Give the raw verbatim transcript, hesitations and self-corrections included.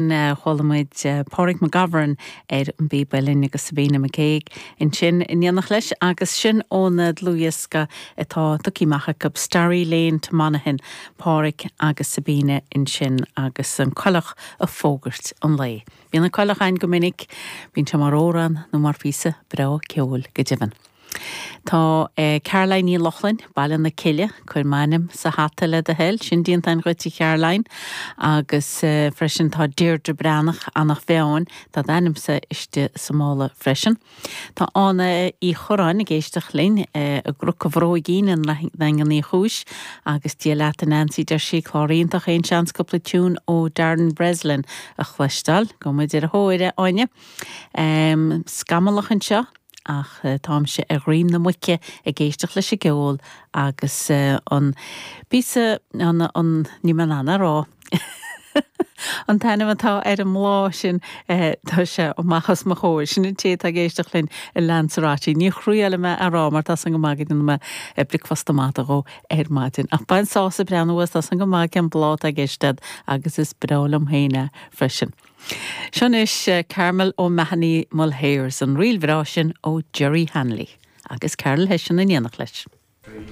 Chuala muid Pádraig McGovern ar an bpíb uilleann agus Sabina McCaig ansin in éineacht leis agus sin óna dlúthdhiosca atá tugtha amach acu Starry Lane to Monaghan, Pádraig agus Sabina ansin agus an coileach ag fógairt an lae. Bíonn an coileach ann go minic, bíonn sé mar amhrán nó mar phíosa breá ceoil go deimhin. Tá eh, Caroline Ní Lochlainn, Baile na Cille, cuir m'ainm sa hata le do thoil, sin déanta againn dhuit a Caroline, agus eh, freisin tá Deirdre Breathnach Eanach Mheáin, tá d'ainmse istigh sa mála freisin. Tá Ána Uí Choráin ag éisteacht linn eh, i gCnoc an Bhróigín i nDaingean Uí Chúis agus Dia leat a Nancy deir sí clár iontach aon seans cúpla tiún ó Darren Breslin a chloisteáil, go muid ar a thóir Áine. Um, scamallach anseo ach uh, táimse ar dhroim na muice ag éisteacht leis an gceol agus uh, an píosa an, an ní man an rá. An t-ainm atá ar an mbláth sin eh, tá sé amach os mo chomhair sin an té ag éisteacht linn i Lanzarote. Ní chruáile me ará mar tá an go maigad me bricfeasta maith go ar maidin. Ach bain sásamh breanúas tá an go maith an bláth ag éisteacht agus is breá liom féin freisin. Seo anois Carmel O'Mahony Mulhairs an ríl bhreá sin ó Jerry Hanley agus Carol Hession in éineacht leis. Three.